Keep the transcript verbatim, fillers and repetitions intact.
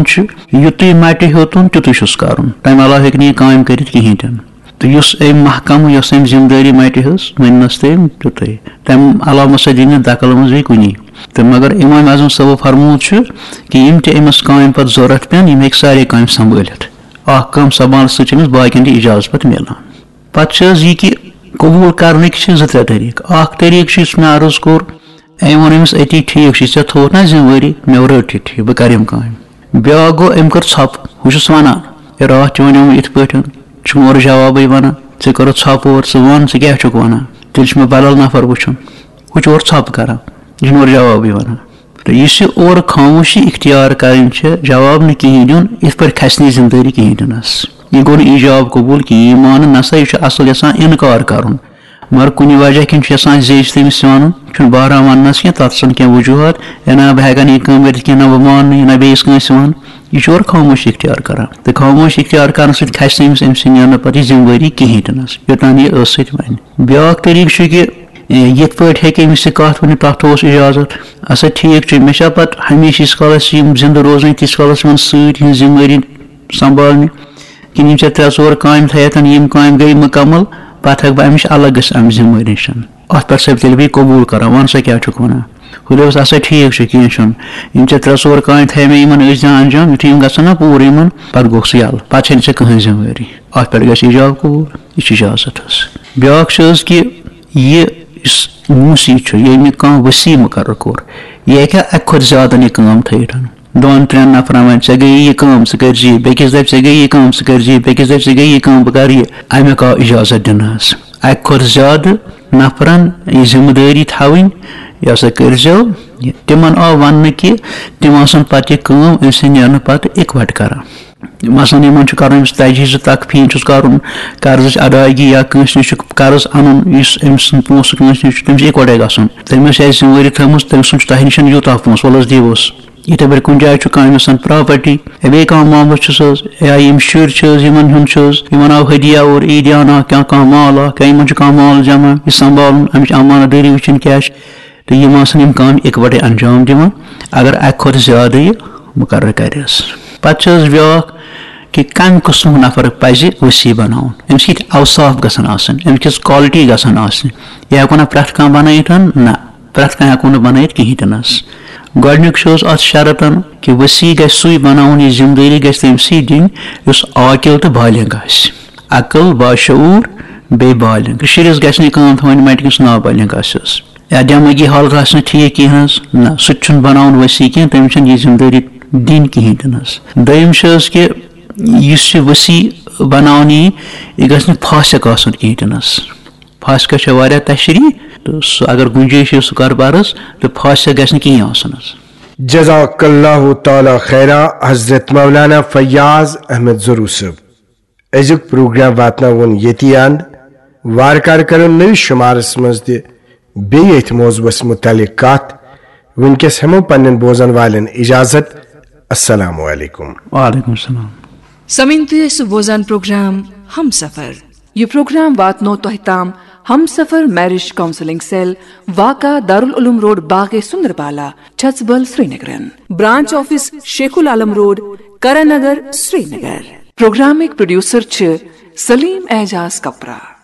چھُ، یُتُے مَٹہِ ہیوٚتُن، تیُتُے چھُس کَرُن۔ تَمہِ علاوٕ ہیٚکہِ نہٕ یہِ کامہِ کٔرِتھ کِہیٖنۍ تہِ نہٕ۔ تہٕ یُس أمۍ محکمہٕ، یۄس أمۍ ذِمہٕ دٲری مَٹہِ ہٕنٛز، ؤنۍنَس تٔمۍ تیُتُے۔ تَمہِ علاوٕ مہ سا دِیہِ نہٕ دَخل منٛز بیٚیہِ کُنی۔ تہٕ مگر اِمام اعظم صٲبو فرمومُت چھُ کہِ یِم تہِ أمِس کامہِ پَتہٕ ضوٚرَتھ پٮ۪ن، یِم ہیٚکہِ سارے کامہِ سنبھٲلِتھ۔ اَکھ کٲم سنبھالنہٕ سۭتۍ چھِ أمِس باقیَن تہِ اِجازت پَتہٕ میلان۔ پَتہٕ چھِ حظ یہِ کہِ قبوٗل کَرنٕکۍ چھِ زٕ ترٛےٚ طریٖقہٕ۔ اَکھ طریٖقہٕ چھُ، یُس مےٚ عرض کوٚر، أمۍ ووٚن أمِس أتی، "ٹھیٖک چھُ، ژےٚ تھوٚوُتھ نا ذِمہٕ وٲری، مےٚ رٔٹ یہِ، ٹھیٖک، بہٕ کَرٕ یِم کامہِ۔" بیٛاکھ گوٚو، أمۍ کٔر ژھۄپہٕ، ہُہ چھُس وَنان، "ہے، راتھ تہِ وَنیومُت یِتھ پٲٹھۍ، ژٕ چھُکھ نہٕ اورٕ جوابٕے وَنان، ژےٚ کٔرٕتھ ژھۄپہٕ اورٕ، ژٕ وَن، ژٕ کیٛاہ چھُکھ وَنان؟" تیٚلہِ چھُ مےٚ بدل نفر وٕچھُن۔ ہُہ چھُ اورٕ ژھۄپہٕ کران، یہِ چھُنہٕ اورٕ جوابٕے وَنان۔ تہٕ یُس یہِ اورٕ خاموشی اختیار کرٕنۍ چھِ، جواب نہٕ کِہیٖنۍ دیُن، یِتھ پٲٹھۍ کھسہِ نہٕ یہِ ذِمہٕ دٲری کِہیٖنۍ دِنَس۔ یہِ گوٚو نہٕ ایجاب قبوٗل کِہیٖنۍ، یہِ مانُن نہ سا، یہِ چھُ اصل یَژھان اِنکار کرُن۔ مگر کُنہِ وجہ کِنۍ چھُ یَژھان زیچھِ تٔمِس وَنُن، چھُنہٕ بہران وَننَس کینٛہہ، تَتھ چھُنہٕ کینٛہہ وجوٗہات، ہے نہ، بہٕ ہٮ۪کہٕ نہٕ یہِ کٲم کٔرِتھ کینٛہہ، نہ بہٕ مانہٕ نہٕ یہِ، نہ بیٚیِس کٲنٛسہِ وَنہٕ۔ یہِ چھُ اورٕ خاموشی اختیار کران۔ تہٕ خاموشی اختیار کرنہٕ سۭتۍ کھسہِ نہٕ أمِس، أمۍ سٕنٛدِ نیرنہٕ پَتہٕ یہِ ذِمہٕ وٲری کِہیٖنۍ تہِ نَس، یوٚتام یہِ ٲسہٕ سۭتۍ وَنہِ۔ بیٛاکھ طریٖقہٕ چھُ کہِ، اے، یِتھ پٲٹھۍ ہیٚکہِ أمِس یہِ کَتھ ؤنِتھ، تَتھ اوس اِجازت۔ اَسا ٹھیٖک چھُ، مےٚ چھا پَتہٕ ہمیشہِ ییٖتِس کالَس یِم زِندٕ روزٕنۍ، تیٖتِس کالَس یِمَن سۭتۍ یِہِنٛز ذِمہٕ وٲری سنبھالنہِ؟ کِنہٕ یِم ژےٚ ترٛےٚ ژور کامہِ تھایَتھ، یِم کامہِ گٔے مُکمل، پَتہٕ ہٮ۪کہٕ بہٕ اَمِچ الگ گٔژھِتھ اَمہِ ذِمہٕ وٲری نِش؟ اَتھ پٮ۪ٹھ سا تیٚلہِ بیٚیہِ قبوٗل کران، وَن سا کیٛاہ چھُکھ وَنان؟ ہُہ دوٚپُس، "اَسا ٹھیٖک چھُ، کینٛہہ چھُنہٕ۔ یِم ژےٚ ترٛےٚ ژور کامہِ تھایہِ مےٚ، یِمَن ٲسۍ زِ انجام، یُتھُے یِم گژھن نا پوٗرٕ یِمَن، پَتہٕ گوٚو سُہ یَلہٕ، پَتہٕ چھَنہٕ ژےٚ کٕہٕنۍ ذِمہٕ وٲری۔ اَتھ پٮ۪ٹھ گژھِ اِجاب قبوٗل، یہِ چھِ اجازت حظ۔" بیٛاکھ چھِ حظ کہِ یہِ یُس موٗسی چھُ، ییٚمۍ کانٛہہ وصی مُقرر کوٚر، یہِ ہیٚکہِ اَکہِ کھۄتہٕ زیادَن یہِ کٲم تھٲیِتھ۔ دۄن ترٛٮ۪ن نفرن وَنہِ، "ژےٚ گٔیی یہِ کٲم، ژٕ کٔرۍ زِ یہِ"، بیٚکِس دَپہِ، "ژےٚ گٔیی یہِ کٲم، ژٕ کٔرۍ زِ یہِ"، بیٚکِس دَپہِ، "ژےٚ گٔیی یہِ کٲم، بہٕ کَرٕ یہِ"، اَمیُک آو اجازت دِنہٕ حظ۔ اَکہِ کھۄتہٕ زیادٕ نفرن یہِ ذِمہٕ دٲری تھاوٕنۍ، یہِ ہسا کٔرۍزیو یہِ۔ تِمن آو وننہٕ کہِ تِم آسن پتہٕ یہِ کٲم أمۍ سٕنٛدِ نیرنہٕ پتہٕ اِکوٹہٕ کران۔ مثلاً، یِمن چھُ کرُن أمِس تجہیز تکفین، چھُس کرُن قرضٕچ ادائیگی یا کٲنٛسہِ نِش چھُ قرض انُن، یُس أمۍ سُنٛد پونٛسہٕ کٲنٛسہِ نِش چھُ، تٔمِس چھُ اِکوٹے گژھُن۔ تٔمِس آسہِ ذمہٕ وٲری تھٲومٕژ، تٔمۍ سُنٛد چھُ تۄہہِ نِش یوٗتاہ پونٛسہٕ، وَلہٕ حظ دِیِو حظ۔ یِتھے پٲٹھۍ کُنہِ جایہِ چھُ کانٛہہ أمِس property، یا بیٚیہِ کانٛہہ معاملہٕ چھُس حظ، یا یِم شُرۍ چھِ حظ، یِمن ہُنٛد چھُ حظ، یِمن آو ہدیہ اور عیٖدیانہ کانٛہہ، کانٛہہ مال آو، کیٛاہ یِمن چھُ کانٛہہ مال جمع، یہِ سنبھالُن، اَمِچ امانت دٲری وٕچھِنۍ کیٛاہ چھِ، تہٕ یِم آسن یِم کامہِ اِکوٹے انجام دِوان، اگر اَکہِ کھۄتہٕ زیادٕ یہِ مُقرر کرِ حظ۔ پتہٕ چھِ حظ بیٛاکھ کہِ کَمہِ قٕسمُک نفر پزِ وصی بناوُن، أمِس کِتھۍ اوصاف گژھن آسٕنۍ، أمِس کِژھ quality گژھن آسٕنۍ، یہِ ہٮ۪کو نہ پرٛٮ۪تھ کانٛہہ بنٲیِتھ، نہ۔ پرٛٮ۪تھ کانٛہہ ہٮ۪کو نہٕ بنٲیِتھ کِہیٖنۍ تہِ نہٕ حظ۔ گۄڈٕنیُک چھُ حظ اَتھ شرطن کہِ وصی گژھِ سُے بناوُن، یہِ ذمہٕ دٲری گژھِ تٔمۍ سٕے دِنۍ یُس عاقل تہٕ بالغ آسہِ۔ عقل، باشعوٗر، بیٚیہِ بالغ۔ شُرِس گژھِ نہٕ یہِ کٲم تھاوٕنۍ مَٹہِ کِس نابالغ آسہِ حظ۔ یا دٮ۪مٲغی حالت آسہِ نہٕ ٹھیٖک کِہیٖنۍ حظ۔ نہ، سُہ تہِ چھُنہٕ بناوُن وصی کینٛہہ، تٔمِس چھَنہٕ یہِ ذمہٕ دٲری دِنۍ کِہیٖنۍ تہِ نہٕ حظ۔ دوٚیِم چھِ حظ کہِ یُس یہِ وصی بناونہٕ یی، یہِ گژھِ نہٕ فاسق آسُن کِہیٖنۍ تہِ نہٕ حظ۔ فاسقس چھےٚ واریاہ تشریح، تہٕ سُہ اگر گُنجٲیِش چھِ، سُہ کَرٕ بہٕ عرض، تہٕ فاسق گژھِ نہٕ کِہیٖنۍ آسُن حظ۔ جزاک اللہ تعالیٰ خیرا حضرت مولانا فیاض احمد ضرور صٲب۔ أزیُک پروگرام واتناوُن ییٚتی اند۔ وارٕ کارٕ کرو نٔوِس شُمارس منٛز تہِ بیٚیہِ أتھۍ موضوعس مُتعلق کتھ۔ وٕنکیٚس ہٮ۪مو پننٮ۪ن بوزن والٮ۪ن اجازت۔ السلام علیکم۔ وعلیکم السلام۔ سمعین تُہۍ ٲسِو بوزان پروگرام ہم سفر۔ یہِ پروگرام واتنو تۄہہِ تام ہم سفر میرج کاؤنسلنگ سیل، واقع دارالعلوم روڈ، باغ سندربالا، چھژبل، سرینگرن۔ برانچ آفس شیخ العالم روڈ، کرن نگر، سرینگر۔ پروگرامٕکۍ پروڈیوسر چھِ سلیم اعجاز کپرا۔